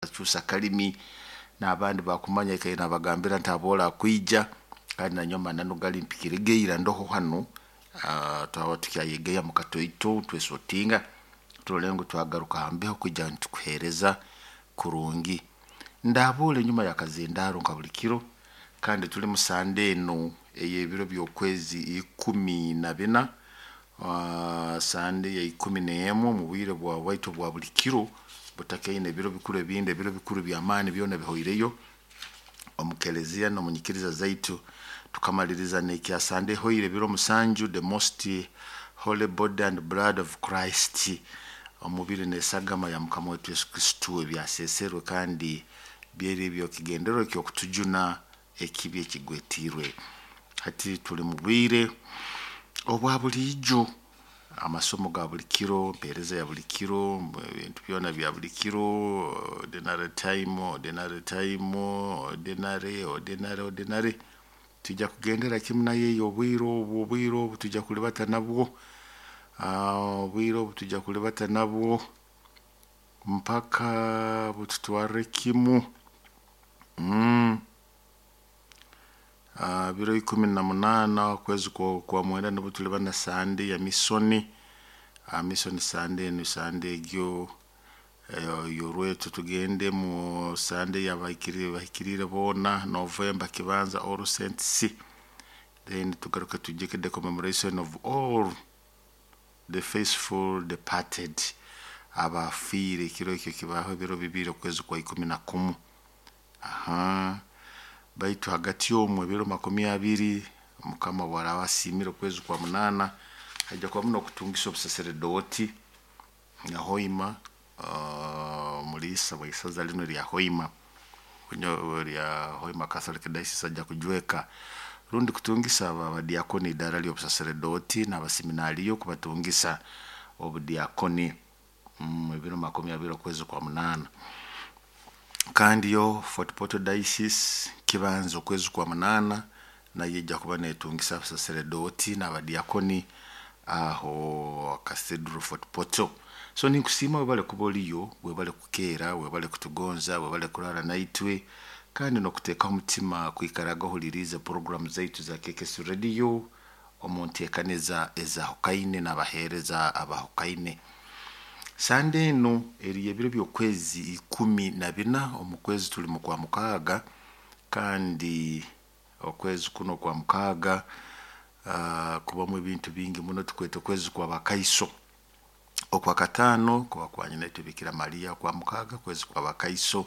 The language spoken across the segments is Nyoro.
Kyusa kalimi n'abandi bakumanya ikaire nabagambira nti aboola akwija kandi nanyowe amananu gali mpikirigeira ndoho hanu. Twaba tukyayegeya mu katoito twesotinga turole ngu twagaruka ha mbeho kwija nitukuheereza kurungi. Ndabuura enyuma y'akazindaaro nka buli kiro, kandi tuli mu Sande enu ey'ebiro by'okwezi 14, Sande ya 11 omu bwire bwa bwaitu bwa buli kiro butakaine ebiro bikuru ebindi, ebiro bikuru by'amaani byona bihoireyo omu keleziya n'omu nyikiriza zaitu. Tukamaliriza n'ekya Sande ehoire ebiro 7, the most holy body and blood of Christ, omubiri n'esagama ya Mukama waitu Yesu Kristo ebyaseeserwe kandi byeri eby'ekigendererwa eky'okutujuna ekibi ekigwetiirwe. Hati tuli mu bwire obwa buliijo, amasomo ga buli kiro, empeereza ya buli kiro, ebintu byona bya buli kiro, ordinary time, ordinary time, ordinary, ordinary, ordinary. Twija kugendera kimu nayo eyo obwire obu, obwire obu twija kulibata nabwo, obwire obu twija kulibata nabwo mpaka bututwarre kimu. Biro 18 okwezi kwa mwenda nubwo tuliba na Sande ya misoni. Misoni Sande enu, Sande egyo yorwetu tugende mu Sande y'abahikiriire boona, November kibanza All Saints, then tugaruke tujye the commemoration of all the faithful departed, abafiire ekiro ekyo kibaho ebiro 2 okwezi kwa 11. Aha, baitu hagati omu ebiro 20 Mukama bwaraaba asiimire okwezi kwa 8 haija kubamu n'okutungisa obusaseredooti na Hoima, omuliisa w'isaza linu erya Hoima, rya Hoima Catholic Diocese aija kujweka rundi kutungisa abadiakoni idaara ly'obusaseredooti n'abaseminaariyo kubatungisa obudiakoni ebiro 20 okwezi kwa 8. Kandi yo Fort Portal Diocese kibanza okwezi kwa 8 nayo ejja kuba neetungisa abasaseredooti n'abadiakoni aho Cathedral Fort Portal. So ninkusiima webale kuba oliyo, webale kukeera, webale kutugonza, webale kuraara naitwe kandi n'okuteekaho omutima kwikaraga ohuliriize puroguramu zaitu za KKS Radio omu nteekaniza ezahukaine n'abaheereza abahukaine. Sande enu eri y'ebiro by'okwezi 14, omu kwezi tuli mu kwa 6, kandi okwezi kuno kwa 6 kubamu ebintu bingi muno, tukweta okwezi kw'abakaiso. Okwa 5 kuba kwa nyina itwe Bikira Maria, okwa 6 kwezi kw'abakaiso.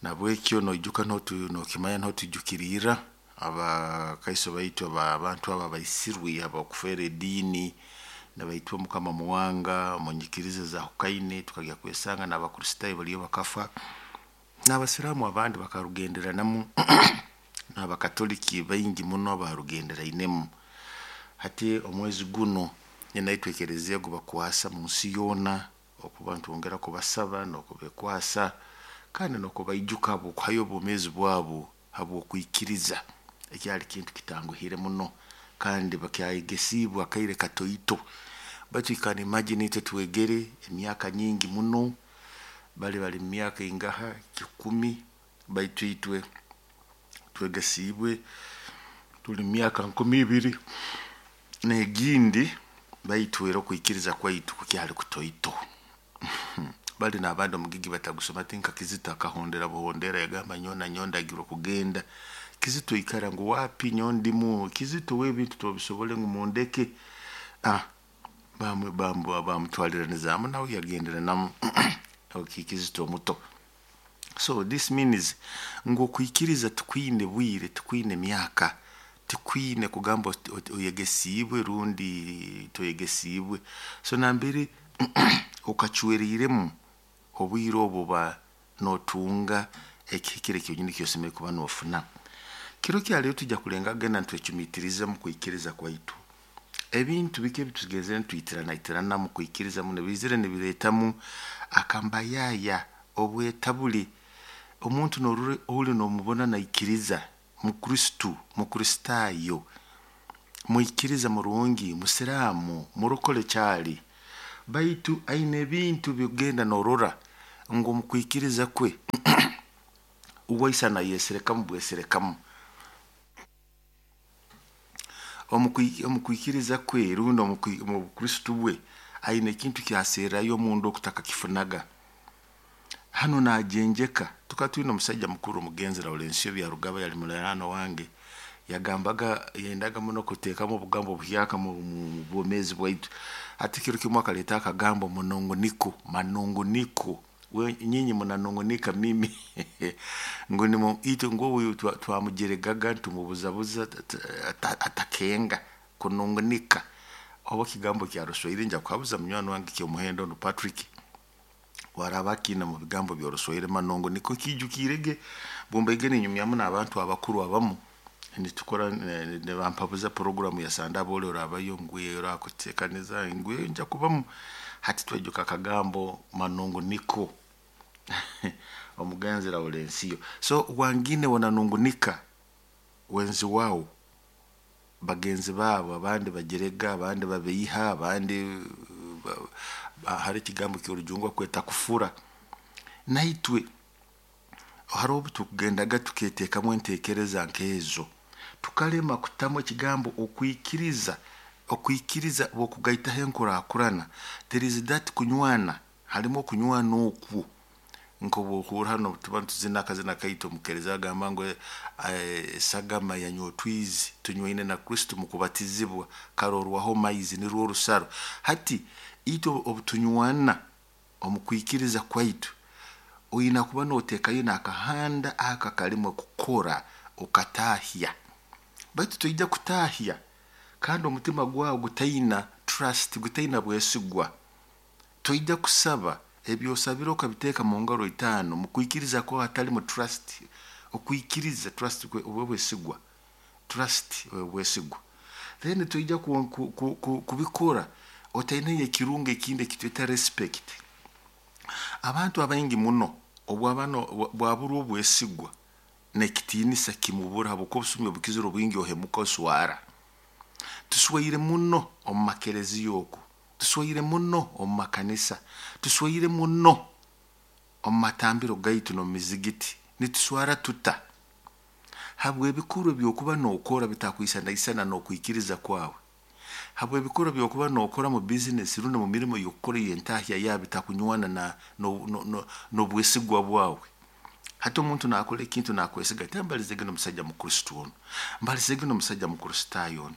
Nabwekyo noijuka nookimanya nootwijukiriirra abakaiso baitu abantu abo abaisirwe ab'okufeera ediini nibaitwa Mukama Muwanga omu nyikiriza ezahukaine, tukagya kwesanga n'Abakristaayo baliyo bakafa, n'Abasiraamu abandi bakarugenderanamu, n'Abakatoliki baingi muno abaarugenderainemu. Hati omwezi guno nyina itwe ekeleziya gubakwasa mu nsi yoona okuba nitwongera kubasaba n'okubeekwasa kandi n'okubaijuka habw'okuhayo obwomeezi bwabo habw'okwikiriza. Ekyali kintu kitanguhire muno kandi bakyayegesiibwe akaire katoito. Baitu you can imagine itwe twegere emyaka nyingi muno, bali bali mu myaka ingaha 1000, baitu itwe twegesiibwe tuli mu myaka 2000 n'egindi, baitu era okwikiriza kwaitu kukyali kutoito. Bali n'abandi omugigi batagusoma tinka Kizito akahondera buhondera yagamba nyowe nanyowe ndagirwe kugenda. Kizito ikara ngu wapi nyowe ndimu, Kizito we ebintu tobisobole ngu mundeke. Bamutwaliranizaamu nawe yagenderanamu Kizito omuto. So this means ngu okwikiriza tikwine bwire, tikwine myaka, tikwine kugamba oyegesiibwe rundi toyegesiibwe. So nambere okacweriiremu obwire obu oba nootunga ekihikire kyonyini ky'osemeriire kuba noofuna. Kiro kya leero twija kulenga kugenda nitwecumiitiriza mu kwikiriza kwaitu. Ebintu biki ebitugenzere nitwitirana mu kwikiriza muno biizire nibireetamu akambayaaya, obwetabuli. Omuntu noorora ori noomubona naikiriza, Mukristo, Mukristaayo, mwikiriza murungi, Musiraamu, murokole kyali, baitu aine ebintu by'okugenda noorora Ngu omu kwikiriza kwe uwaisana yeserekamu bweserekamu omu kwikiriza kwe rundi omu bukristo bwe aine ekintu kyaserrayo omunda okutakakifunaga. Hanu nagenjeka tukaba twine omusaija mukuru omugenzi Laurencio Byarugaba, yali muliraano wange, yagambaga yendaga muno kuteekamu obugambo obuhyaka mu bwomeezi bwaitu. Hati kiro kimu akaleeta akagambo munongoniko, manongoniko, we nyinyi munanongonika mimi ngu nimu itwe ngu obu twamujeregaga ntumubuzabuza atakenga kunongonika. Oba kigambo kya Ruswahili nja kuhabuza munywani wange kyomuhendo onu Patrick waraba akiine mu bigambo by'Oruswahili manongoniko nkiijukirege bumbaige ninyumyamu n'abantu abakuru abamu nitukora nibampabuza puroguramu ya Sandabo oli orabayo ngwe orakuteekaniza ngwe nja kubamu. Hati twaijuka akagambo manongoniko omugenzi Laurencio. So wangine wananungunika wenzi wao, bagenzi baabo abandi bajerega, abandi babeiha, abandi hari ekigambo ky'Orujungu bakweta kufura. Naitwe hariho obu tukugendaga tuketeekamu enteekereza nk'ezo, tukalema kutamu ekigambo okwikiriza, okwikiriza bw'okugaitaho enkurakurana, there is that kunywana, harimu okunywana okwo. Nk'obwohurra hanu tuba nituzina akazina kaitu omukeereza agamba ngu esagama yanywa otwizi tunywaine na Kristo mu kubatizibwa karorwaho maizi nirwo orusaro. Hati itwe obutunywana omu kwikiriza kwaitu, oine kuba nooteekayo n'akahanda aka akalimu kukora okataahya. Baitu toija kutaahya kandi omutima gwawe gutaina trust, gutaina bwesigwa. Toija kusaba ebyosabire okabiteeka mu ngaro itaano mu kwikiriza kwawe hatalimu trust. Okwikiriza trust oba bwesigwa, trust obwesigwa. Then toija kubikora otaineyo ekirungo ekindi ekitweta respect. Abantu abaingi muno obwaburwa obwesigwa n'ekitiinisa kimubura habwokuba obusumi obukizire obwingi ohemuka oswara. Tuswaire muno omu makereziya oku, tuswaire muno omu makanisa, tuswaire muno omu matambiro gaitu n'omu mizigiti. Nituswara tuta? Habw'ebikorwa eby'okuba nookora bitakwisanaisana n'okwikiriza kwawe, habw'ebikorwa eby'okuba nookora mu bizinesi rundi mu mirimo y'okukora ey'entahya yaawe bitakunywana n'obwesigwa bwawe. Hati omuntu naakora ekintu naakwesiga ati mbalizege n'omusaija mukristo onu, mbalizege n'omusaija mukristaayo onu.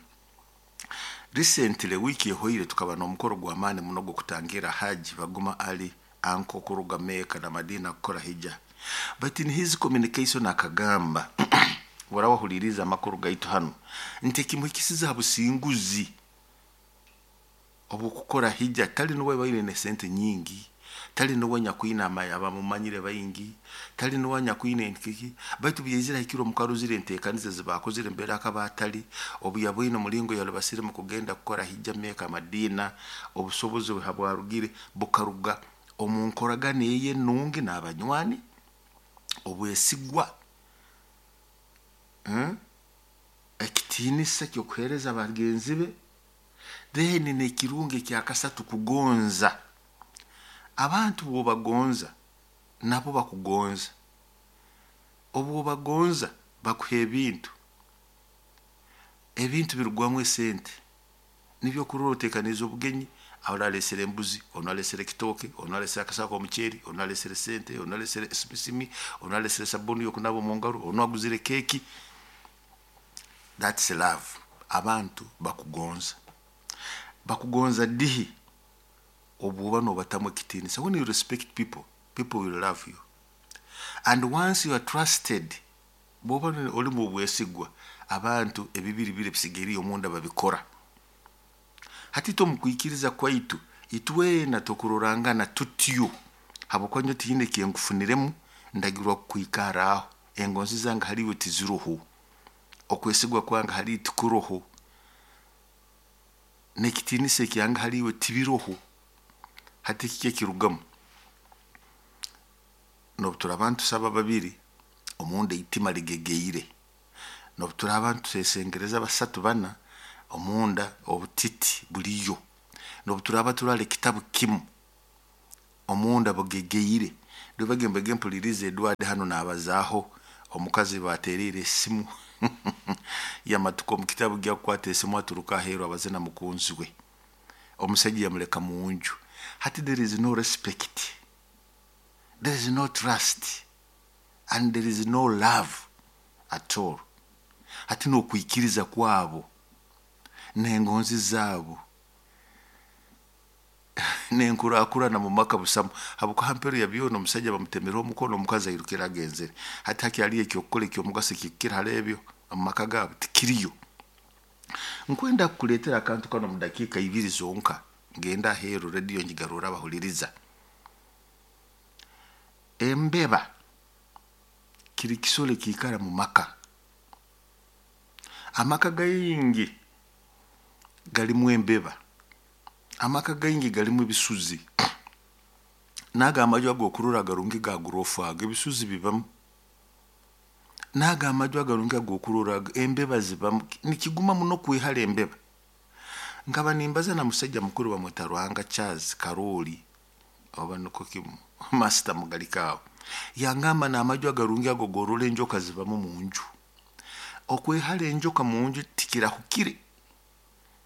Recently wiiki ehoire tukaba n'omukoro gw'amaani muno gw'okutangira Haji Baguma Ali anko kuruga Mecca na Madina kukora hija. But in his communication akagamba oraba wahuliriize amakuru gaitu hanu nti ekimuhikisize ha businguzi obw'okukora hija tali nuwe baine n'esente nyingi, tali nuwe nyakwine abamumanyire baingi, tali nuwe anyakwine kiki, baitu obu yaizire ahikire omu karuzire enteekaniza ezi baakozire mbere akaba atali, obu yaboine omulingo yalubasiremu kugenda kukora hija Mecca Madina, obusobozi bwe habwarugire bukaruga omu nkoragana eye enungi n'abanywani, obwesigwa, ekitiinisa ky'okuheereza bagenzi be, then n'ekirungo ekyakasatu kugonza. Abantu bw'obagonza nabo bakugonza. Obu obagonza bakuha ebintu, ebintu birugwamu esente. Nibyo okurora oteekaniize obugenyi, ori aleesere embuzi, onu aleesere ekitooke, onu aleesere akasaho k'omuceeri, onu aleesere sente, onu aleesere esimisimi, onu aleesere sabuni y'okunaaba omu ngaro, onu aguzire keeki. That's love. Abantu bakugonza. Bakugonza dihi? Obu oba noobatamu ekitiinisa. When you respect people, people will love you. And once you are trusted, bw'oba olimu obwesigwa, abantu ebibiri biri ebisigaire omunda babikora. Hati itwe omu kwikiriza kwaitu, itwena tukurorangana tutyo habwokuba nyowe tihaine ekinkufuniremu ndagirwa kukwikara aho, engonzi zange hali iwe tiziroho, okwesigwa kwange hali iwe tikuroho, n'ekitiinisa ekyange hali iwe tibiroho. Hati kiki ekirugamu? N'obu turaaba nitusaba babiri, omunda eitima ligegeire. N'obu turaaba nitwesengereza basatu bana, omunda obutiti buliyo. N'obu turaaba turara ekitabu kimu, omunda bugegeire. Rubagembege mpulirize Edward hano nabazaaho omukazi baterire esimu yamatuka omu kitabu gyakukwata esimu aturuka aheeru abaze na mukunzi we, omusajja yamuleka munju. Hati there is no respect, there is no trust and there is no love at all. Hati n'okwikiriza kwabo n'engonzi zaabo nenkurakurana mu maka busamu, habwokuba hampero ya byona omusajja bamutemereho omukono, omukazi airukire agenzere. Hati hakyaliyo ekyokukora ekyomugaso ekikukira hali ebyo omu maka gaabo? Tikiriyo. Nkwenda kukuleetera akantu kano mu dakiika ibiri zonka, ngenda aheeru rediyo ngigarura abahuliriza. Embeba kiri kisoro ekiikara mu maka. Amaka gaingi galimu embeba, amaka gaingi galimu ebisuzi, n'ago amaju ag'okurora agarungi ga gurofa ago ebisuzi bibamu, n'ago amaju agarungi ag'okurora ago embeba zibamu. Nikiguma muno kwehara embeba. Nkaba nimbaza na musajja mukuru bamweta Ruhanga Charles Karoli, oba niko kimu masita mugalika aho, yangamba n'amaju agarungi ago gorora enjoka zibamu munju. Okwehara enjoka munju tikirahukire.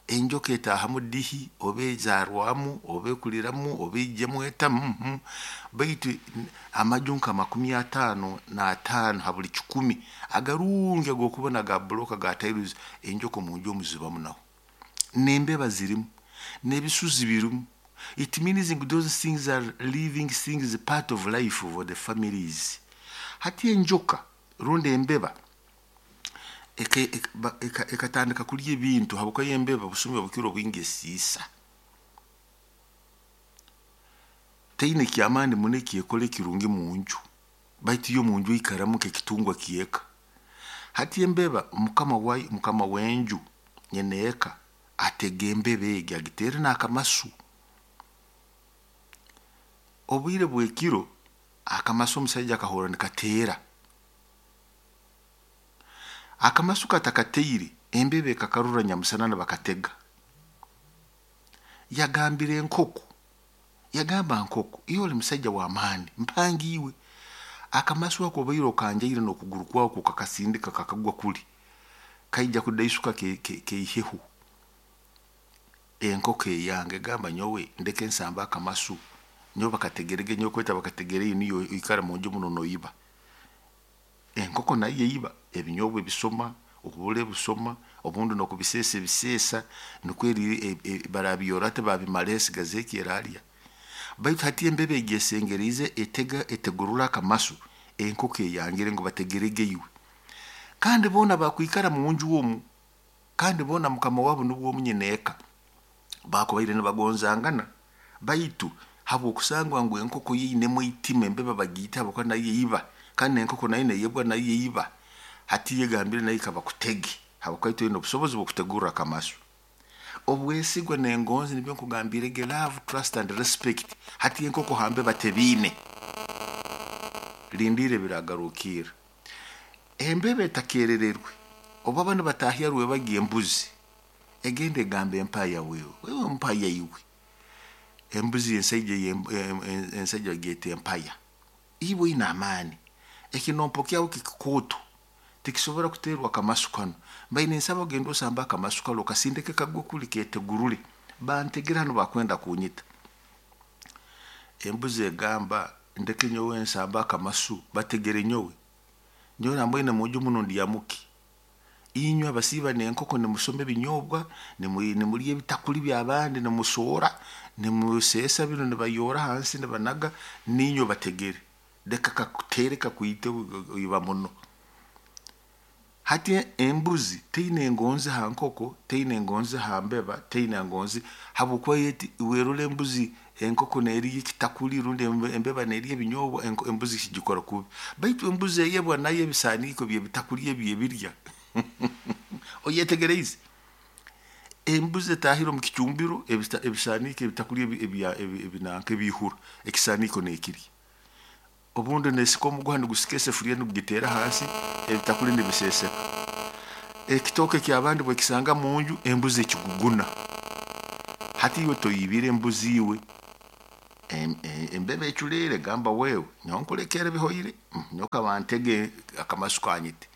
Enjoka etaahamu dihi, oba ezaarwamu, oba ekuliramu, oba ijemu eta, baitu amaju nka 55 ha buli 100 agarungi ag'okubona ga buloka ga tiles, enjoka omunju omu zibamu naho. N'embeba zirimu, n'ebisuzi birimu. It means those things are living things, part of life for the families. Hati enjoka rundi embeba ekatandika kulya ebintu, habwokuba embeba busumi obukiro obwingi esiisa. Teine kyamaani muno ekyekora ekirungi munju, baitu yo munju eikaramu nk'ekitungwa kyeka. Hati embeba mukama wayo, mukama w'enju nyina eka atega embeba egi agiteere n'akamasu. Obwire bw'ekiro akamasu omusaija akahurra nikateera. Akamasu katakateire, embeba ekakarora nyamusana nibakatega. Yagambira enkoko, yagamba nkoko, iwe oli musaija w'amaani, mpangi iwe. Akamasu ako obaire okanjaire n'okuguru kwawe kukakasindika kakagwa kuli, kaija kudaisuka keiheho. Enkoko eyange egamba nyowe ndeke nsamba akamasu, nyowe bakategerege, nyowe kweta bakategere niyo oikara munju muno noiba. Enkoko nayo eiba ebinyobwa ebisoma, obule busoma, obundi n'okubiseesa ebiseesa, nukwo barabiyora ati babimara esigaza eki eraalya. Baitu hati embeba egi esengeriize etega etegurura akamasu, enkoko eyangire ngu bategerege iwe. Kandi boona bakwikara munju omu, kandi boona mukama wabo nubwo omu nyina eka, bakubaire nibagonzangana, baitu habw'okusangwa ngu enkoko yo einemu eitima embeba bagiita habwokuba nayo eiba, kandi n'enkoko nayo neyebwa nayo eiba. Hati yegambire nayo kabakutege, habwokuba itwe oine obusobozi bw'okutegurra akamasu. Obwesigwa n'engonzi nibyo nkugambirege, love, trust and respect. Hati enkoko ha mbeba tebiine. Lindiire biragarukiira. Embeba etakerererwe, obu baba nibatahya rwebagyo embuzi, egenda egamba empaya wewe, wewe mpaya iwe. Embuzi ensaija ensaija bagyeta empaya. Iwe oine amaani, ekinompo kyawe kikikooto, tikisobora kuteerwa akamasu kanu. Mbaire ninsaba ogende osambe akamasu kanu okasindike kagwe kuli ketegurure, bantegere hanu bakwenda kunyita. Embuzi egamba ndeke nyowe nsambe akamasu bategere nyowe, nyowe nambwine munju muno ndyamuki. Inywe abasiiba n'enkoko nimusoma ebinyobwa, nimulya ebitakuli by'abandi, nimusoora, nimuseesa binu nibayoora hansi nibanaga, niinywe bategere. Leka kakuteere kakwite oiba muno. Hati embuzi teine engonzi ha nkoko, teine engonzi ha mbeba, teine engonzi habwokuba eti werora embuzi enkoko neerya ekitakuli rundi embeba neerya ebinyobwa, embuzi kigikora kubi. Baitu embuzi eyebwa nayo ebisaaniiko by'ebitakuli ebi ebirya. Oyetegereize? Embuzi etaahire omu kicumbiro, ebisaaniiko ebitakuli ebinanka ebiihura, ekisaaniiko neekirya. Obundi neesika omuguha nigusika esefuriya nigugiteera hansi, ebitakuli nibiseeseka. Ekitooke eky'abandi bwekisanga munju, embuzi ekiguguna. Hati iwe toibire embuzi iwe. Embeba eculeere gamba, wewe nyowe nkulekere bihoire, nyowe kabantege akamasu kanyite.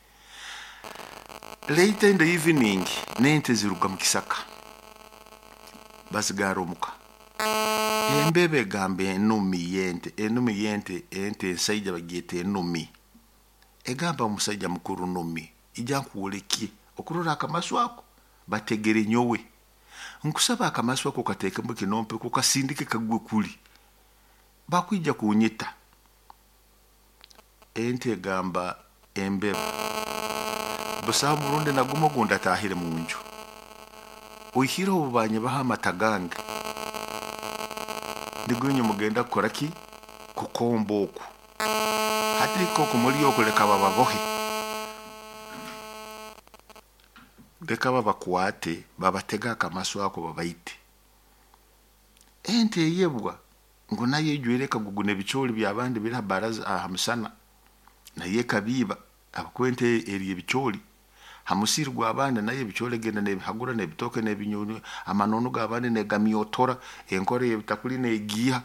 Later in the evening n'ente ziruga mu kisaka basigara omuka. Embeba egamba enumi y'ente, enumi y'ente, ente ensaija bagyeta enumi, egamba omusaija mukuru numi, ija nkwolekye okurora akamasu ako bategere nyowe, nkusaba akamasu ako kateekemu kinompe kukasindike kagwe kuli bakwija kunyita. Ente egamba embeba, busaho murundi nagumu ogundi atahire munju, oihireho obu banyibaho amata gange nigwo inywe mugenda kukora ki, kukomba oku hati nk'oku muli oku, leka bababohe, leka babakwate babatege akamasu ako babaite. Ente eyebwa ngu nayo ejwaire ekagugu n'ebicooli by'abandi biri ha baraza ha musana, nayo ekabiiba habwokuba ente erya ebicooli ha musiri gw'abandi, nayo ebicooli egenda n'ebihagura n'ebitooke n'ebinyonyi, amanono g'abandi negamyotora, enkora y'ebitakuli negiiha.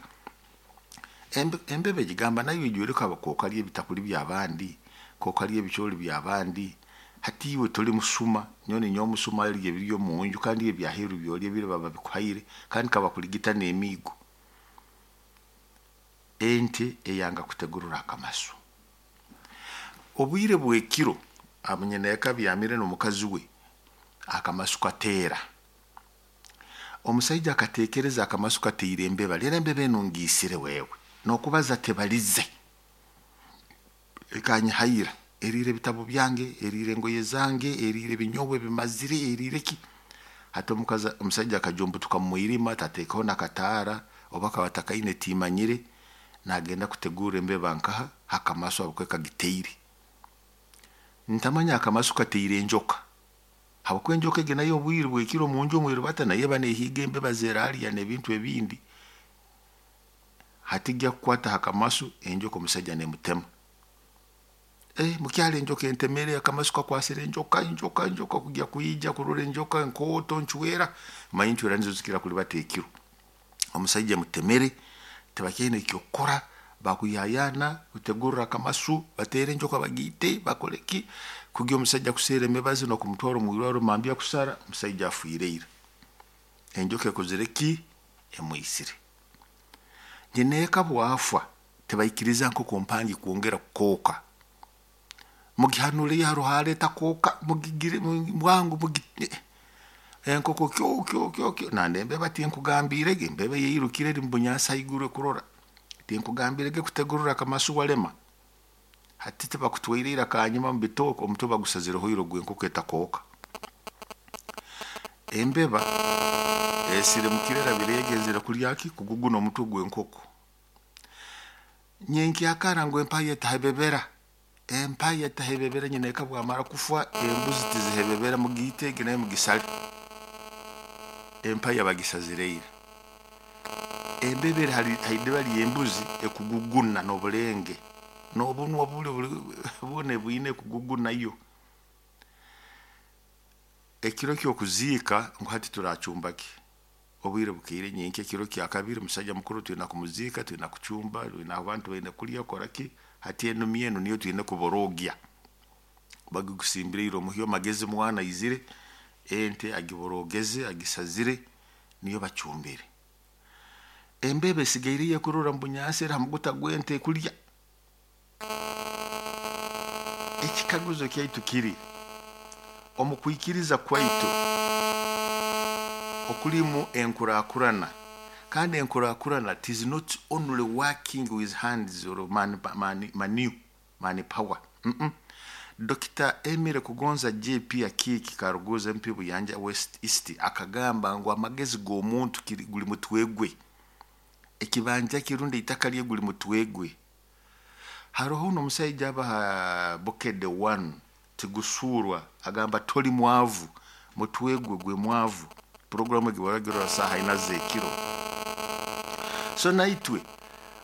Embeba egigamba nayo ijwaire kokalya ebitakuli by'abandi, kokalya ebicooli by'abandi, hati iwe toli musuma, nyowe ninyowe musuma alya ebiri omunju, kandi ebyaheeru byolya biri baba babikuhaire kandi kabakuligita n'emiigo. Ente eyanga kutegurura akamasu. Obwire bw'ekiro nyineeka abyamire n'omukazi we, akamasu kateera. Omusaija akateekereza akamasu kateire embeba, leero embeba enu ngiisire wewe, n'okubaza tebalize, ekanyihaira, eriire ebitabu byange, eriire engoye zange, eriire ebinyobwa ebimazire, eriire ki. Hati omukazi omusaija akajumbutuka mu mwirima tateekeho n'akataara oba akaba atakaine timanyire, nagenda kutegurra embeba nkaha hakamasu habwokuba kagiteire. Ntamanya akamasu kateire enjoka, habwokuba enjoka egi nayo obwire bw'ekiro munju omwirubata nayo eba neehiiga embeba zeraalya n'ebintu ebindi. Hati gya kukwata ha kamasu enjoka omusaija neemutema. Mukyara enjoka entemere, akamasu kakwasire enjoka, enjoka, enjoka kugya kwija kurora enjoka enkooto ncwera, manya encwera nizo zikira kulibata ekiro. Omusaija emutemere, tibakyaine eky'okukora, bakuyayaana kutegurra akamasu, bateere enjoka bagiite, bakole ki, kugya omusaija kuseera emibazi n'okumutwara omwirwarro mambya kusara, omusaija afiire ira. Enjoka ekozire ki? Emwisire. Nyineeka bwafa, tibaikiriza nkoko mpangi kwongera kukooka. Mugihanuleyo haroho aleeta kooka, mugigire bwangu enkoko kyo kyo kyo kyo, nandi embeba tinkugambirege, embeba yairukire eri mubunyansi haiguru ekurora, tinkugambirege kutegurra akamasu walema. Hati tibakutwaire ira kanyuma mu bitooke, omutwe bagusazireho ira ogw'enkoko etakooka. Embeba esirimukire erabire egenzere kulya ki, kuguguna omutwe gw'enkoko. Nyenkyakara ngu empaya etahebebera, empaya etahebebera nyineeka bwamara kufa embuzi tizihebebera, mugiite egi nayo mugisale. Empaya bagisazire ira. Embeba eri haidiba ly'embuzi ekuguguna n'obulenge, n'obunwa buli bwona bwine ekugugunayo. Ekiro ky'okuziika ngu hati turacumba ki? Obwire bukeire nyenkya ekiro kya kabiri omusaija mukuru twina kumuziika, twina kucumba, twina abantu baine kulya kukora ki, hati enumi enu niyo twine kuborogya. Bagigusimbire ira omuhyo magezi mwana aizire, ente agiborogeze agisazire niyo bacumbire. Embeba esigaireyo ekurora mu bunyansi eri ha muguta gw'ente ekulya. Ekikaguzo kyaitu kiri, omu kwikiriza kwaitu okulimu enkurakurana, kandi enkurakurana it is not only working with hands or man, man, manu, man power. Dr. Emile Kugonza JP Akiiki Karuguza MP Buyanja West East akagamba ngu amagezi g'omuntu guli mutwe gwe, ekibanja kirundi itaka lye guli mutwe gwe. Haroho n'omusaija aba ha Bukede 1 tigusurwa agamba toli mwavu, mutwe gwe gwe mwavu. Puroguramu egi baragirora saaha ina z'ekiro. So naitwe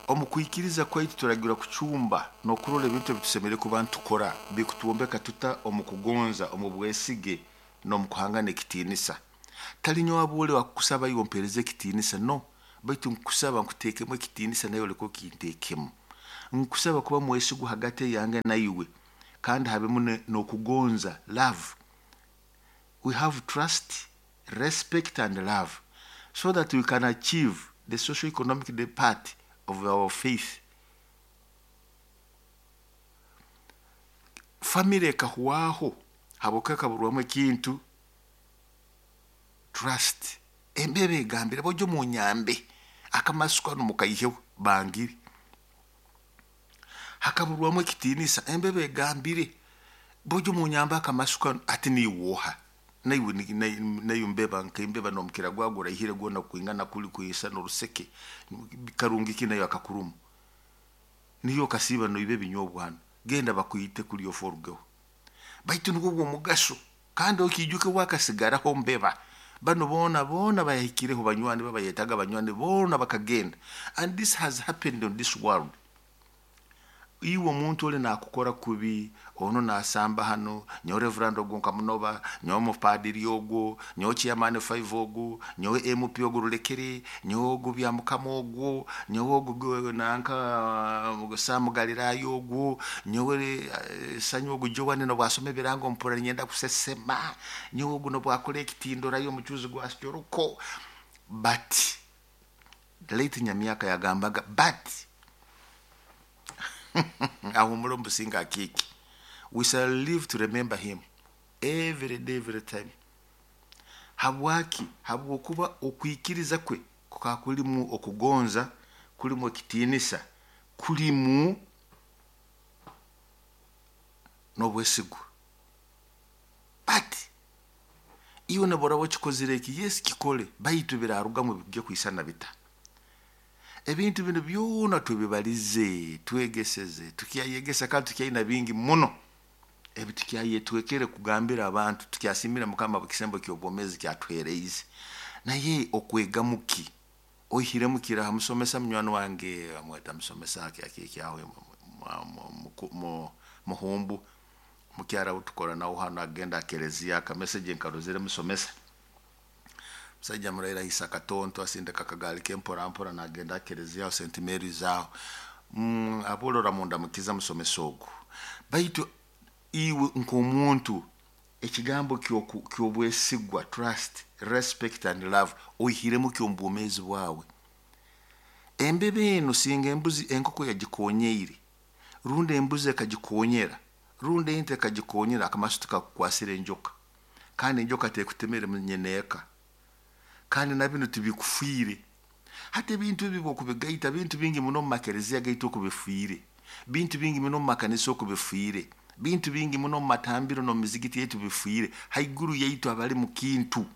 omu kwikiriza kwaitu turagirwa kucumba n'okurora ebintu ebitusemeriire kuba nitukora bikutwombeka tuta omu kugonza, omu bwesige n'omu kuhangana ekitiinisa. Tali nyowe abwole wakukusaba iwe ompereze ekitiinisa, no. Baitu nkusaba nkuteekemu ekitiinisa nawe oleke okinteekemu. Nkusaba kuba mwesigwa hagati yange naiwe, kandi habemu n'okugonza, love. We have trust, respect and love, so that we can achieve the social economic part of our faith. Family ekahwaho habwokuba ekaburwamu ekintu trust. Embeba egambire bojo munyambe akamasu kanu mukaiheho bangire. Hakaburwamu ekitiinisa, embeba egambire bojo munyambe akamasu kanu ati niiwoha naiwe nayo mbeba nkembeba nomukira gwago oraihire gwona kwingana kuli kwisa n'oruseke karungi ki nayo akakurumu niyo kasiiba noiba ebinyobwa hano genda bakwite kuli ofe orugeho. Baitu nubwo bw'omugaso kandi okiijuke wakasigaraho mbeba bano boona boona bayahikireho banywani babayetaga banywani boona bakagenda. And this has happened on this world. Iwe omuntu oli nakukora kubi, ono nasamba hano, nyowe reverend ogwo nkamunoba, nyowe omupadiri ogwo, nyowe chairman 5 ogwo, nyowe MP ogwo rulekere, nyowe ogwo bya mukama ogwo, nyowe ogwo nanka Sam Galilaya ogwo, nyowe Sanyu ogwo Joan nobwasoma ebirango mpura nyenda kusesema, nyowe ogwo nobwakora ekitindora y'omucuzi gwa Joroko. But late Nyamyaka yagambaga but ahumura omubusinga akiki. We shall live to remember him every day, every time. Habwaki? Habwokuba okwikiriza kwe kukaba kulimu okugonza, kulimu ekitiinisa, kulimu n'obwesigwa. But iwe noboraba okikozire eki, yes kikole, baitu birarugamu bijja kwisana bita. Ebintu bino byona tubibalize, twegeseze, tukyayegesa kandi tukyaina bingi muno ebi tukyayetwekere kugambira abantu, tukyasimira Mukama ekisembo ky'obwomeezi kyatuheereize. Naye okwegamu ki? Oihiremu kiraha? Musomesa munywani wange amweta musomesa akekyaho muhumbu mukyara utukora nawe hano agenda akelezia akameseje nkarozere musomesa. Musajja muraira ahisa akatonto asindika akagaali ke mpora mpora nagenda akelezia St Mary's aho. Abolora munda mukiza musomesa ogu. Baitu iwe nk'omuntu ekigambo ky'obwesigwa, trust, respect and love oihiremu ki omu bwomeezi bwawe? Embeba eno singa embuzi enkoko yagikonyeire, rundi embuzi ekagikonyera, rundi ente ekagikonyera, akamasu tikakukwasira enjoka. Kandi enjoka tekutemere nyeneeka. Kandi na bino tibikufiire. Hati ebintu ebi bwokubigaita, bintu bingi muno omu makereziya gaitu okubifiire, bintu bingi muno omu makanisa okubifiire, bintu bingi muno omu matambiro n'omu mizigiti yaitu bifiire, haiguru yaitu abali mu kintu.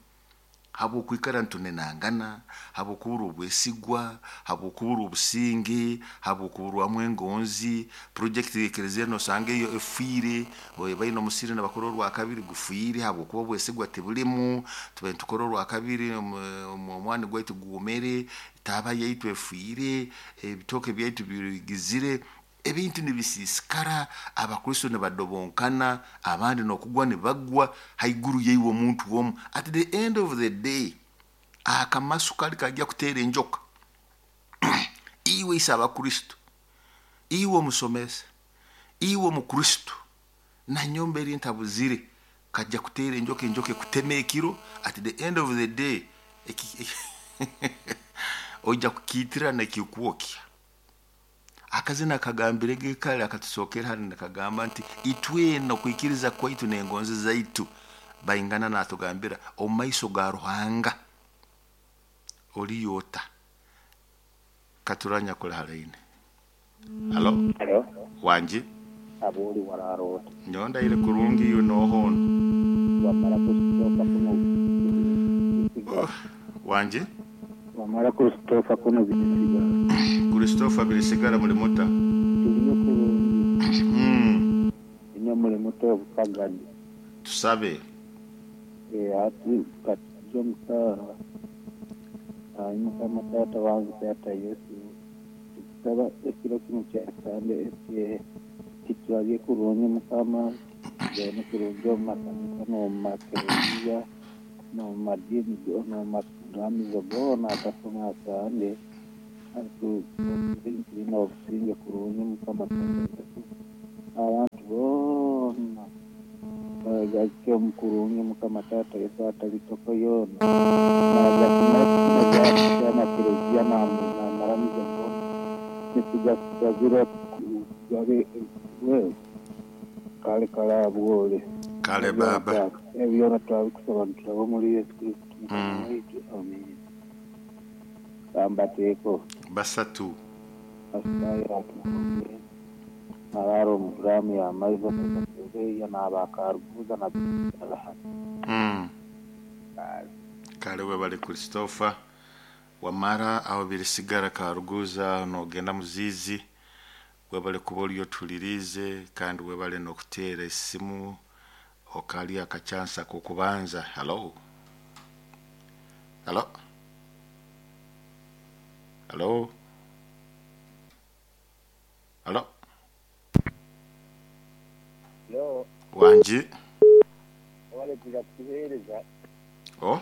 Habwokwikara ntunenangana, habwokubura obwesigwa, habwokubura obusinge, habwokuburwamu engonzi, project y'ekereziya nosanga eyo efiire, baine omusiri nibakora orwakabiri gufiire habwokuba obwesigwa tibulimu, tubaire nitukora orwakabiri omwani gwaitu gwomere, taaba yaitu efiire, ebitooke byaitu bigizire, ebintu nibisiisikara, abakristo nibadobonkana, abandi n'okugwa nibagwa haiguru yaiwe omuntu omu. At the end of the day, akamasu kali kajja kuteera enjoka. Iwe ise abakristo, iwe omusomesa, iwe omukristo, nanyomba eri ntabuzire, kajja kuteera enjoka, enjoka ekutema ekiro. At the end of the day, ojja kukiitira nekikwokya. Akazina kagambire gekale akatusookera hano nakagamba nti itwena okwikiriza kwaitu n'engonzi zaitu baingana natugambira omu maiso ga Ruhanga oliyo ota. Katuranya kuli halaine. Halo? Halo. Wangi? Aboli wararota. Nyowe ndaire kurungi iwe nohono. Wamara Christopher kuno bisiga. Wangi? Wamara Christopher kuno bisiga. Christopher birisigara muri muta. Tuliyo kurungi. Ine muri muto obukagani. Tusabe. Ati katujja omusaara. Mukama taata wange taata Yesu. Tukusaba ekiro kino kya Sande ekye kitwabye kurungi Mukama. Tugende kurungi omu makanisa n'omu makereziya n'omu madiini n'omu Ramizo goona akasoma asande tulina obusinge kurungi Mukama Taata Yesu. Abantu boona bagakye omukurungi Mukama Taata Yesu atalitoko yoona na kelezia namaramizo goona nitugasabira gabe wewe kale kalabwole Kale baba. Ebyona twabikusaba nitulaba omuli Yesu Kristo Mukama waitu. Amen. Kambateeko Basatu. Asitayiratumukogere nabara omuguramu yamaizo kasebeya nabakaruguza na Kale webale Christopher. Wamara aho birisigara karuguza nogenda muzizi. Webale kuba oliyo tulirize kandi webale nokuteera esimu okali akachansa kokubanza. Hello. Hello. Hello. Hello. Yo, Wanji. wale kuja kutuheereza Oh.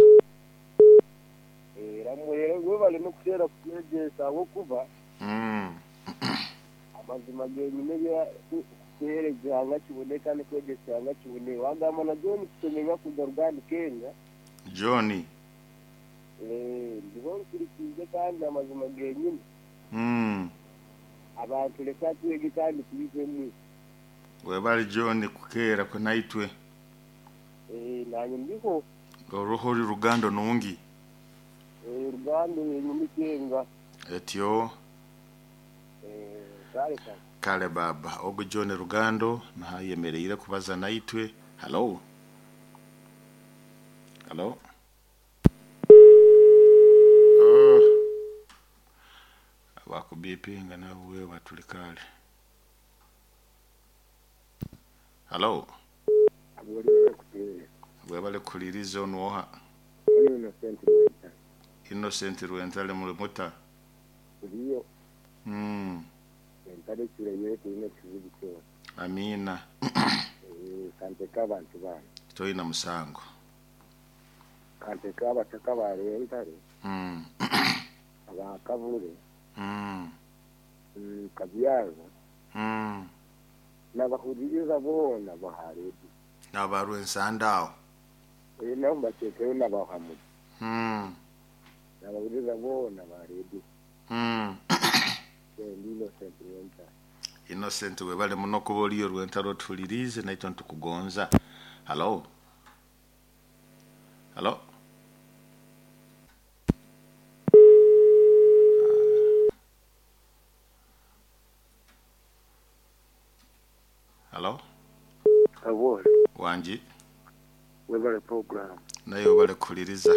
era mwere webale n'okuteera kutuheereza ahabw'okuba amazima genyine kutuheereza nga kibone kandi kwegyesa nga kibone wagamba na John kusomera kuja Ruganda Kenya. John. Ndiho nkurikiize kandi amazima genyine abantu leka twege kandi tubivemu. Webale John kukeera kunaitwe. Nanye ndiho Oruho ori Rugando nungi. Rugando yenyine Kenga. Etyo. Kale kale. Kale baba. Ogu John Rugando nahayemereire kubaza naitwe. Hello. Hello. Oh. Abakubipinga nawe batulikale. Hello. Webale kuliriza onwoha. Innocent Rwenta. Innocent Rwentale mulimuta. Ndiyo. Entale kireyere tulina ekizibu kyona. Amina. Kanteka abantu bana. Toyina musango. Kanteka abataka ba Rwentale. Abakabure. Kabyaza. N'abahuririza boona baharedi. N'abarwensandaawo. Nabo mbateekeyo n'abahamuzi. N'abahuririza boona baharedi. Innocent Rwentale. Innocent webale muno kuba oliyo Rwentale otulirize naitwe ntukugonza. Hello. Hello. Hello. Awol. Wanji. Webale program. Nayo webale kuliriza.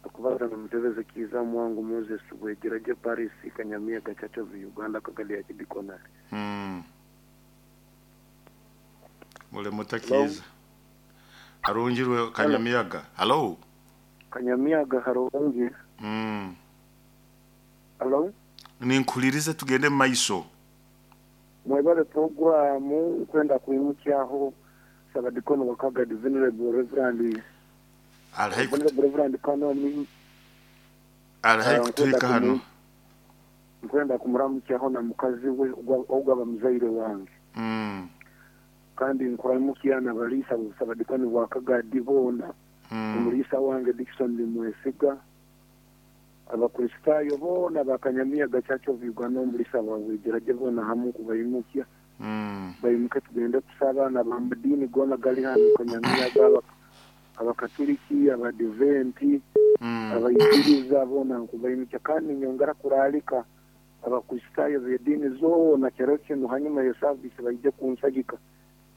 Akubaza na mutebeze Kiza mwangu Moses Bwegeraje Paris Kanyamia Gachacha Uganda Kagali ya Kidikonari. Mule mutakiza. Arunjirwe Kanyamiaga. Hello. Kanyamiaga harungi. Hello. Ninkulirize tugende maiso. Mwebale programu kwenda kuimukyaho Sabadikono wakaga Venerable Reverend. Reverend Kanoni. Alhai kutuika hano. Nkwenda kumuramukyaho na mukazi we ogaba muzaire wange. Kandi nkuramukya na balisa Sabadikono wakaga divona. Omulisa wange Dickson Mwesiga. Abakristayo bona bakanyamia Gachacho Uganda omulisa wawe geraje bona hamu kubayimukya. Bayimuke tugende kusaba na bamadini gona gali hano Kanyamia gaba abakatoliki abadiventi abayikiriza bona nkubayimukya kandi nyongera kuralika abakristayo b'edini zoona kero kino hanyuma ya service bayije kunsagika.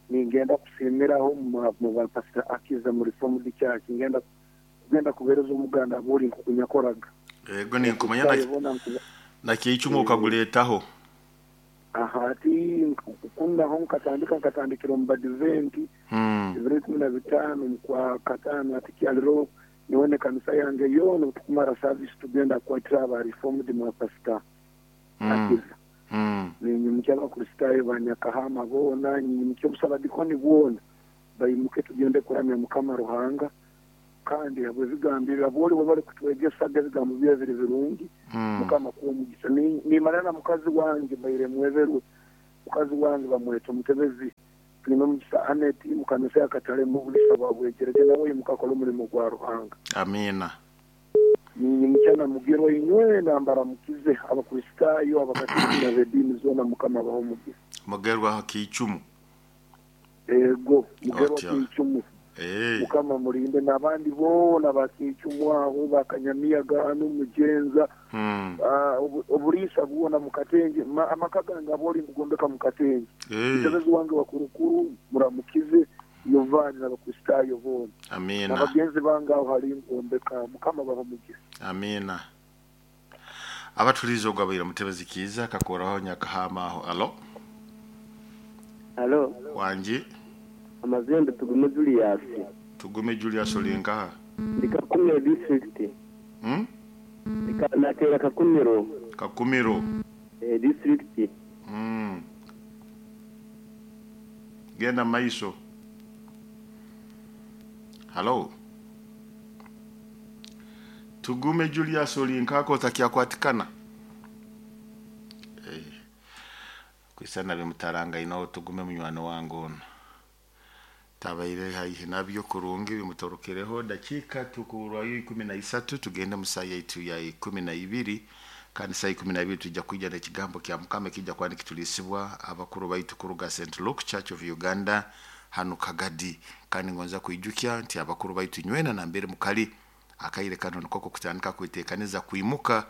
Ningenda kusimiraho mu bapastor Akiza muri Reformed Church ngenda kugenda kubereza umuganda buri nkukunyakoraga. Ego ninkumanya na kiyicumu ukaguletaho. Aha ati kundaho nkatandikira mu badiventi ibiro 15 kwa katano ati kyaliro niwone kanisa yange yono tukumara service tugenda kwatira aba Reformed mu pastor Akiza. Ninyimukia abakristayo banyakahama bona ninyimukia omusabadikoni bwona bayimuke tugende kuramya Mukama Ruhanga Kandi habw'ebigambo ebi aboli bwe bali kutwegesaga ebigambo bye biri birungi. Mukama kuwa omugisa. Nimara na mukazi wange mbaire mweberwe. Mukazi wange bamweta Omutebezi Tulime Mugisa Aneti mukanisa ya Katale mu bulisa bwa Bwegerege, nawe imuka akora omulimo gwa Ruhanga. Amiina. Ninyimukya na Mugerwa inywena mbaramukize Abakristaayo, Abakatuliki n'ab'ediini zoona, Mukama abahe omugisa. Mugerwa Kiicumu. Ego, Mugerwa Otyo. Kiicumu. Mukama mulinde n'abandi boona ba Kiicumu aho, ba Kanyamiyaga hanu Mugenza, obuliisa bwona mu Katenje. Amaka gange aboli ngugombeka mu Katenje. Mutebezi wange wa Kurukuru muramukize Yovani n'Abakristaayo boona. Amiina. N'abagenzi bange aho hali ngombeka. Mukama abahe omugisa. Amiina. Abatuliize ogwabaire Mutebezi Kiiza kakoraho Nyakahama aho. Alo. Alo. Wangi. Amazembe Tugume Julius. Tugume Julius oli nkaha? Ndi Kakumiro district. Nateera Kakumiro. Kakumiro. District. Genda maiso. Halo. Tugume Julius oli nkako otakyakwatikaana. Kwisana bimutaranga ino Tugume munywani wange ono. Tabaire haihi nabyo kurungi bimutorokereho. Dakika tukurwayo 13 tugende mu saa yaitu ya 12, kandi saa 12 tujja kwija n'ekigambo kya Mukama kijja kwani kitulisibwa abakuru baitu kuruga St. Luke Church of Uganda hanu Kagadi. Kandi ngonza kwijukya nti abakuru baitu nywena na mbere mukali akaire kano nikoko kutandika kwetekaniza kwimuka,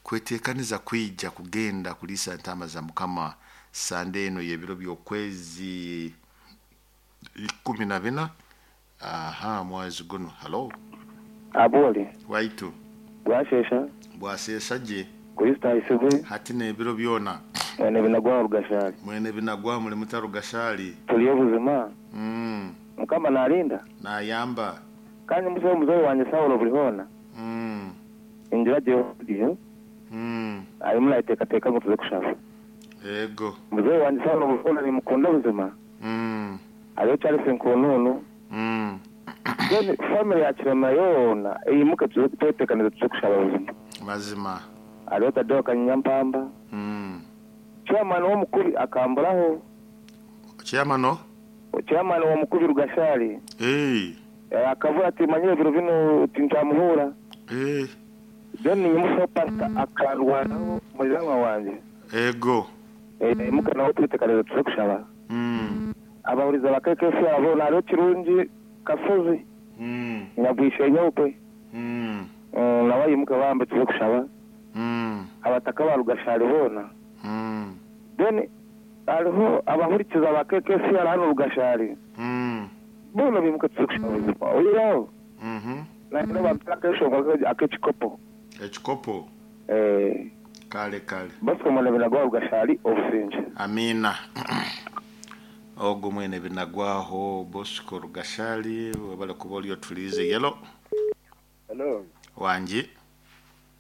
kwetekaniza kwija kugenda kulisa ntama za Mukama Sande eno y'ebiro by'okwezi 14 aha mwezi guno. Halo. Abole. Waitu. Bwashesha. Bwasesha je. Kristo aisibwe. Hati n'ebiro byona. Mwene binagwa Rugashali. Mwene binagwa muri Mutarugashali. Tuliyo buzima. Mukama narinda. Nayamba. Kandi musobe muzobe wanje Saulo buri hona. Injira je. Ari murayitekateka ngo tuze kushaba. Ego. Muzobe wanje Saulo buri hona nimukunda buzima. Ariyo Charles Nkununu. Then family ya Kirema yona iyimuke tuze twetekaniza tuze kushaba buzima. Mazima. Ariyo Tadeo Kanyampamba. Chairman w'omukuru akamburaho. Chairman no? Chairman w'omukuru Rugashali. Akavuga ati manyire biro bino tintamuhura. Then nimuso pastor akarwanaho muzanwa wanje. Ego. Imuka nawe twetekaniza tuze kushaba. Abahuriza bakekesi abo naro Kirungi Kasozi. Nyabwishe nyeupe. Nawe imuka bambe tuze kushaba. Abataka ba Rugashali bona. Then hariho abahurikiza bakekesi hano Rugashali. Bona bimuka tuze kushaba buzima. Oyiraho. Naino bampaka eshonga akechikopo. Ekikopo. Kale kale. Basi mwene binagwa Rugashali obusinge. Amina. Ogo mwene binagwaho Bosco Rugashali wabale kuba oliyo tulize. Yelo. Hello. Wangi.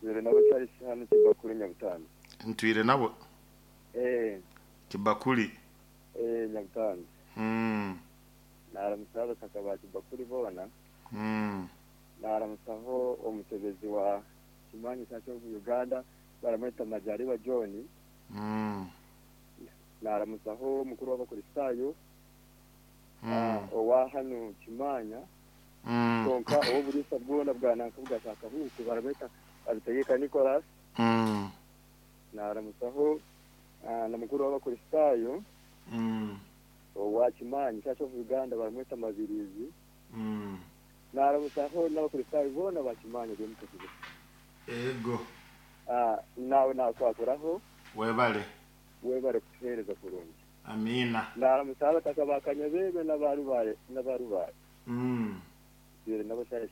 Nire nabo Charles hano Kibakuli Nyabutano. Ntwire nabo? Kibakuli. Nyabutano. Naramusaba kakaba Kibakuli bona. Naramusaho omutebezi wa Kimanyi Church of Uganda baramweta Majaliwa John. Naramusaho mukuru w'Abakristayo owa hano Kimanya. Konka owo bulisa bwona bwananka bwashaka huku baramweta Abitegeka Nicholas. Naramusaho na mukuru w'Abakristayo owa Kimanyi Church of Uganda baramweta Mabirizi. Naramusaho n'Abakristayo bona ba Kimanyi b'emutukuzi. Ego. Nawe nakwakuraho. Webale. Webale kutuhereza kurungi. Amina. Naramusaba takabakanya bebe n'abarubaye n'abarubaye. Bire nabo Charles.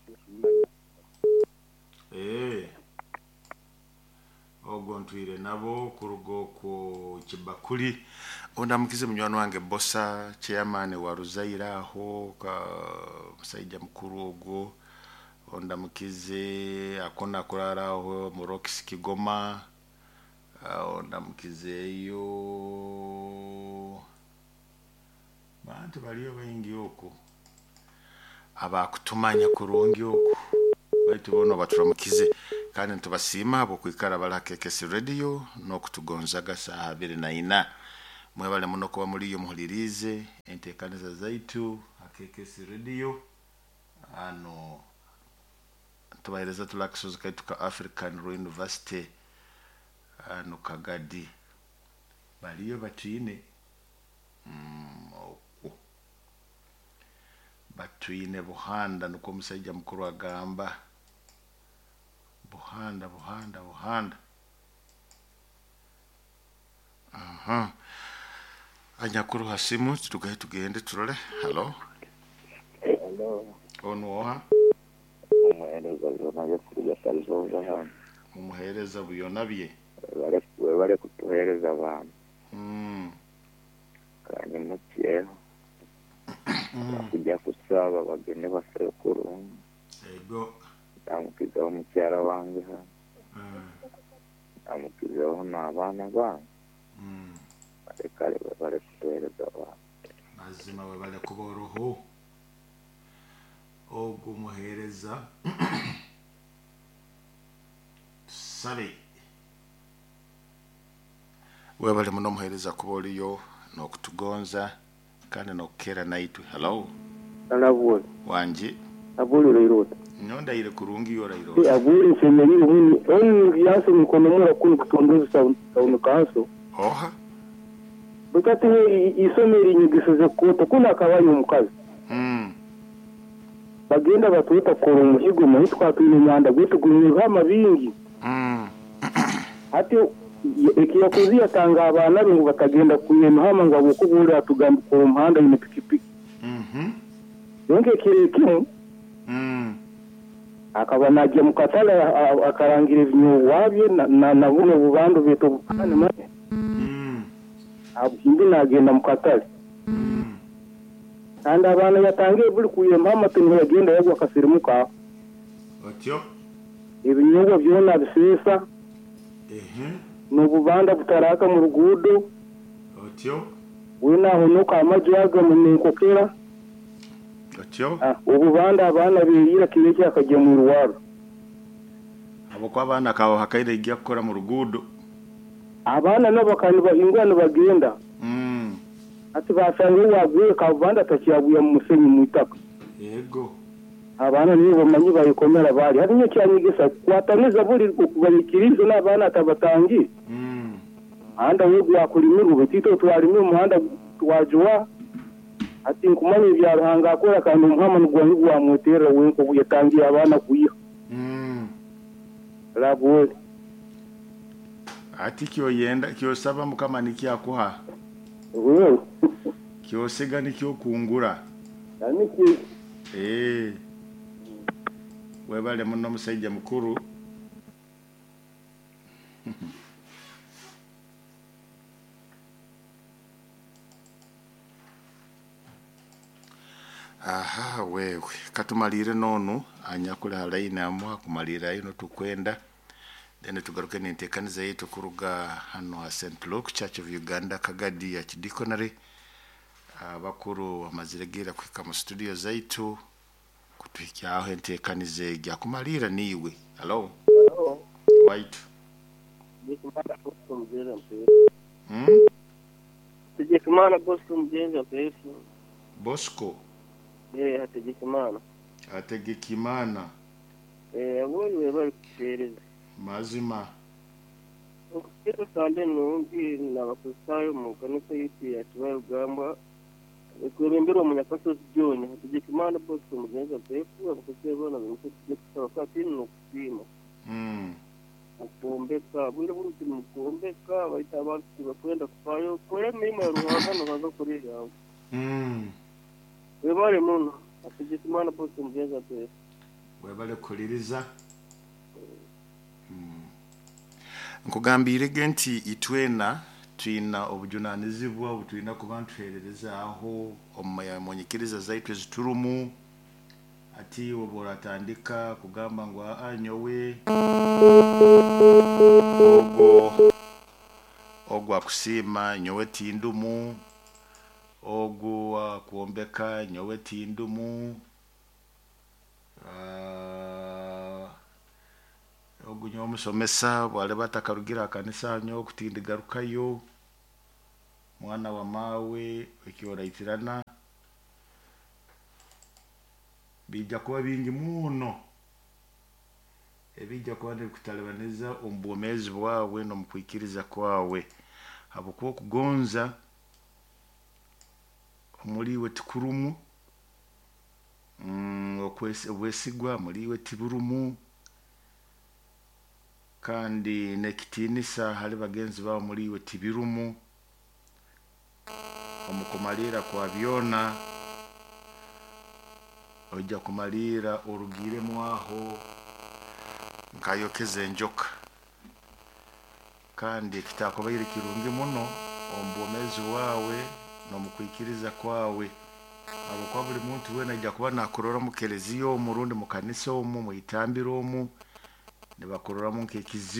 Ogo ntwire nabo kurugo ku Kibakuli. Ondamukize munywani wange Bosa chairman wa Ruzaira aho ka musaija mukuru ogwo. Ondamukize akona kurara aho mu Rox Kigoma. Ondamukizeyo bantu baliyo baingi okwo. Abakutumanya kurungi oku baitu boona baturamukize kandi nitubasiima habw'okwikara bali ha KKC Radio n'okutugonzaga saaha 24. Mwebale muno kuba muliyo muhuliriize enteekaniza zaitu ha KKC Radio. Hano tubaheereza tuli akasozi kaitu ka African Royal University hano Kagadi. Baliyo batwine okwo batwine Buhanda, nukwo omusaija mukuru agamba. Buhanda, Buhanda, Buhanda. Aha. Anyakuru hasimu tugahe tugende turole. Halo. Hello. Onu oha? Umuhereza byona byo salizoza hano. Umuhereza buyona bye. Bari kutuhereza abantu. Kandi mukyeho. Kujya kusaba bagende basabe kurungi. Ego. Ndamukizaho mukyara wange hano. Ndamukizaho n'abaana bange. Kale bari kutuhereza abantu. Mazima we bale kuba oruhu. Ogwo muhereza tusabe. Webale muno muhereza kuba oliyo n'okutugonza kandi n'okukeera naitwe. Hello. Alabwe. Wangi. Abuli leirota. Nyondaire kurungi yorairota. Abuli nsemerire huni. Onu yase mikono mura kuni kutondoza town council. Oha. Bukati isomero inyigisho kota kuna akabaye omukazi. Bagenda batuta kora umuhigo muhi twatwine imyanda gwetugumye hama bingi. Ati ekiyakozi yatanga abana be ngo batagenda kuyema hama ngo abokubura atugamba kora umuhanda ine pikipiki. Yonke kirekimu. Akaba najya mu katale akarangira ebinyo na buno bubandu beto bukane mane. Abindi nagenda mu katale. Kandi abana yatangiye buri kuyema amatungo yagenda yagwa akasirimuka. Otyo. Ebinyobwa byona bisesa. N'ububanda butaraka mu rugudo. Otyo. We naho nuka amajaga mu minkokera. Otyo. Ububanda abana birira kireke akajya mu ruwaro. Abo kwa abana kawo hakaire igiye gukora mu rugudo. Abana nabo kandi bahingwa bagenda. Ati basanga waguye kabanda takiyabuye mu musenyi mu itaka. Yego. Abana nibo bamanyi bayikomera bari. Hari nyo cyanyigisa kwataniza buri kubarikirizo n'abana tabatangi. Anda we gwakulimirwa betito twalimye umuhanda twajuwa. Ati nkumanye bya Ruhanga akora kandi umuhama n'ugwanyi gwamutera wenko yatangiye abana kuyiha. Rabuwe. Ati kyo yenda kyo saba mukama nikiyakuha. Wewe. Kyosiga nikyo kungura. Niki. Webale muno musajja mukuru. Aha wewe katumalire nonu anyakule halaini amwa kumalira ino tukwenda then tugaruke n'enteekaniza yaitu kuruga hano ha St. Luke Church of Uganda Kagadi ya Kidikonary. Abakuru bamazire kwika mu studio zaitu kutuhikyaho enteekaniza ejya kumalira niwe. Hello. Hello. Waitu. Tegekimana Bosco Mugenzi Pefu. Bosco. Hategekimana. Hategekimana. Abonye bari kutereza. Mazima. Okukiro sande nungi n'abakristayo mu kanisa yitu ya Kibarugamba ekwebemberwa Munyakasozi John. Hategekimana Bosco Mugenzi Pefu abakristayo bona bimutse kusaba kwatini n'okusiima. Mukuombeka bwire buruti mukuombeka baita abantu bakwenda kufayo kore emirimo ya Ruhanga nobaza kuri yawe. Webale muno Hategekimana Bosco Mugenzi Pefu. Webale kuliriza. Nkugambire nti itwena twina obujunanizibwa obutwina kuba ntuherereza aho omu nyikiriza zaitu eziturumu. Ati oboratandika kugamba ngu nyowe ogo ogwa kusiima nyowe tindumu, ogu kuombeka nyowe tindumu. Ogu nyowe omusomesa bwaliba atakarugire ha kanisa nyowe kutindigarukayo. Mwana wa maawe, ekyoraitirana bijja kuba bingi muno ebijja kuba nibikutalibaniza omu bwomeezi bwawe n'omu kwikiriza kwawe, habwokuba okugonza omuli iwe tikurumu, obwesigwa muli iwe tiburumu, kandi n'ekitiinisa hali bagenzi baawe muli iwe tibirumu. Omu kumalirra kwa byona, oija kumalirra orugiiremu aho nk'ayokeze enjoka, kandi ekitaakubaire kirungi muno omu bwomeezi bwawe n'omu kwikiriza kwawe, habwokuba buli muntu weena aija kuba naakurora mu kereziya omu rundi mu kanisa omu, mwitambiro omu, nibakuroramu nk'ekizibu.